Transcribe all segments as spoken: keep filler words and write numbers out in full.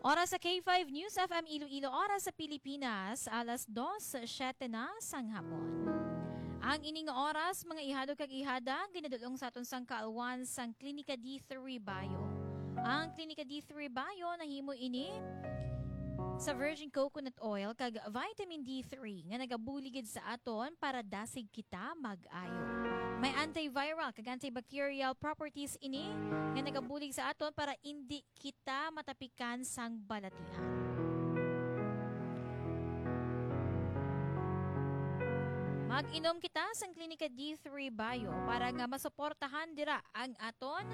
Oras sa K five News F M Iloilo, oras sa Pilipinas, alas dos siyete na sang hapon. Ang ining oras, mga ihado kag ihada, ginadulong sa aton sang kaalwan sang Klinika D three Bio. Ang Klinika D three Bio nahimo ini sa virgin coconut oil kag vitamin D three nga nagabulig gid sa aton para dasig kita mag-ayo. May antiviral kag antibacterial properties ini nga nagabulig sa aton para indi kita matapikan sang balatian. Mag-inom kita sang Klinika D three Bio para nga masuportahan dira ang aton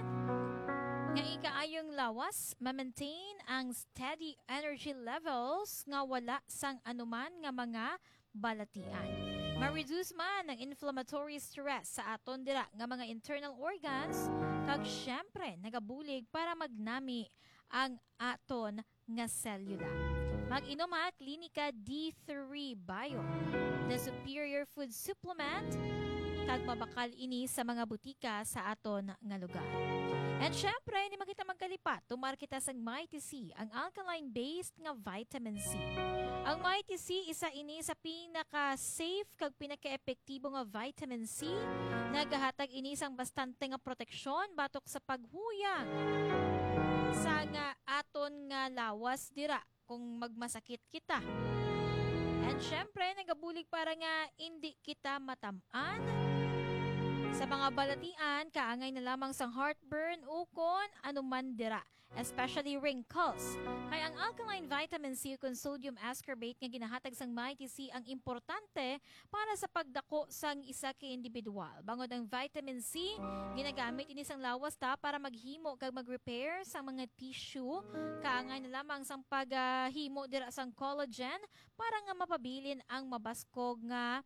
nga ikaayong lawas, ma-maintain ang steady energy levels nga wala sang anuman nga mga balatian. Ma-reduce man ang inflammatory stress sa aton dira nga mga internal organs, kag syempre nagabulig para magnami ang aton nga selula. Mag-inom ha, Klinika D three Bio, the superior food supplement, kag mabakal ini sa mga butika sa aton nga lugar. And syempre, hindi man kita magkalipat, tumar kita sang Mighty C, ang alkaline-based nga vitamin C. Ang Mighty C, isa ini sa pinaka-safe kag pinaka-epektibo nga vitamin C. Nagahatag ini sang bastante nga proteksyon batok sa paghuyang sa nga aton nga lawas dira kung magmasakit kita. And syempre, nagabulig para nga indi kita matam-an sa mga balatian, kaangay na lamang sang heartburn ukon anuman dira, especially wrinkles. Kay ang alkaline vitamin C ukon sodium ascorbate nga ginahatag sang Mighty C ang importante para sa pagdako sang isa ka individual. Bangod ang vitamin C, ginagamit ini sang lawas ta para maghimo kag mag-repair sang mga tissue, kaangay na lamang sang paghimo dira sang collagen para nga mapabilin ang mabaskog nga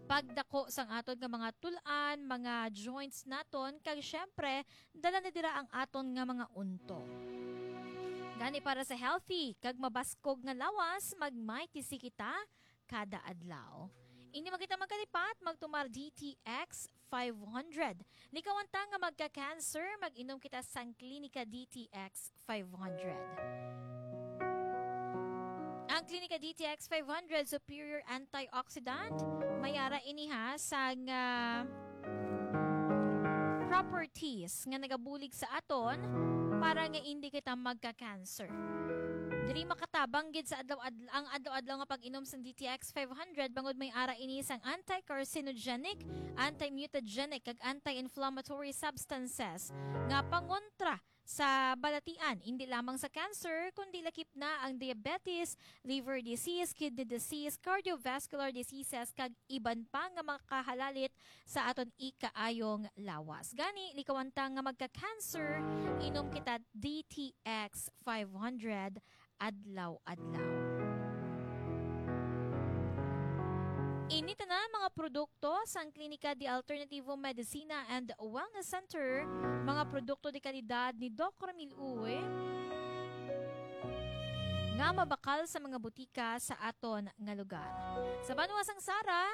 pagdako sang aton nga mga tul-an, mga joints naton, kag syempre, dala na dira ang aton nga mga unto. Gani, para sa healthy kag mabaskog nga lawas, mag-Mighty C kita kada adlaw. Hindi man kita magkalipat, magtumar D T X five hundred. Likawan ta nga magka-cancer, mag-inom kita sang Klinika D T X five hundred. Ang Klinika D T X five hundred, superior antioxidant, may ara ini ha sang, ah, properties nga nagabulig sa aton para nga hindi kita magka-cancer. Diri makatabang gid sa adlaw-adl-, ang adlaw-adlaw nga pag-inom sang D T X five hundred, bangod may ara ini sang anti-carcinogenic, anti-mutagenic, kag anti-inflammatory substances nga pangontra sa balatian, hindi lamang sa cancer, kundi lakip na ang diabetes, liver disease, kidney disease, cardiovascular diseases, kag iban pa nga makahalalit sa aton ikaayong lawas. Gani, likawan ta nga magka-cancer, inom kita D T X five hundred adlaw-adlaw. Ini tanan mga produkto sang Klinika de Alternativo Medicina and Wellness Center, mga produkto de kalidad ni Doc Ramil Uy, nga mabakal sa mga butika sa aton nga lugar. Sa banwa sang Sara,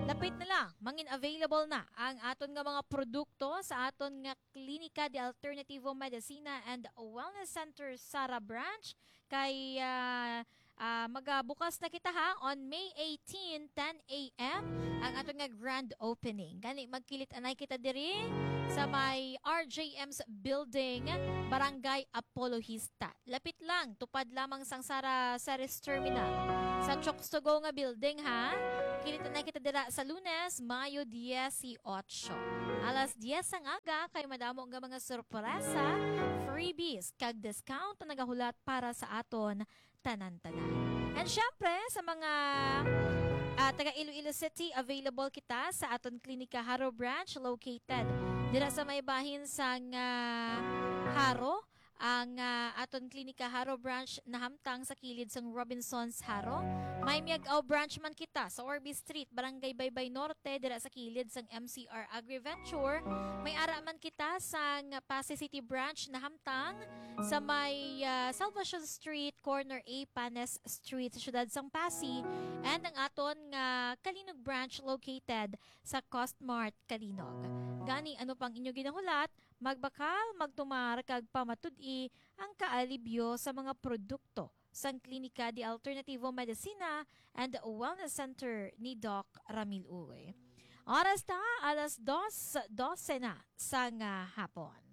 lapit na lang, mangin available na ang aton nga mga produkto sa aton nga Klinika de Alternativo Medicina and Wellness Center Sara Branch. Kay, ah, ah, magabukas na kita ha, on May eighteen, ten a m, ang aton nga grand opening. Gani, magkilit-anay kita diri sa may R J M's Building, Barangay Apologista. Lapit lang, tupad lamang sang Sara Ceres Terminal. Sa Chooks to Go nga building, ha? Kilit-anay kita dira sa Lunes, Mayo dieciocho. Alas diez sang aga, kay madamo nga mga sorpresa, freebies, kag discount na nagahulat para sa aton tanan-tanan. And syempre, sa mga, ah, taga Iloilo City, available kita sa aton Klinika Jaro Branch, located dira sa may bahin sang, ah, Jaro, ang, ah, aton Klinika Jaro Branch nahamtang sa kilid sang Robinsons Jaro. May Miag-ao branch man kita sa Orbe Street, Barangay Baybay Norte, dira sa kilid sang M C R Agriventure. May ara man kita sang Passi City branch na hamtang sa may, ah, Salvacion Street, corner A Panes Street, sa siyudad sang Passi, and ang aton nga Calinog branch located sa Costmart Calinog. Gani, ano pang inyo ginahulat? Magbakal, magtumar, kag pamatud-i ang kaalibyo sa mga produkto sang Klinika de Alternativo Medicina and Wellness Center ni Doc Ramil Uy. Oras ta, alas dos, dose na sang, ah, hapon.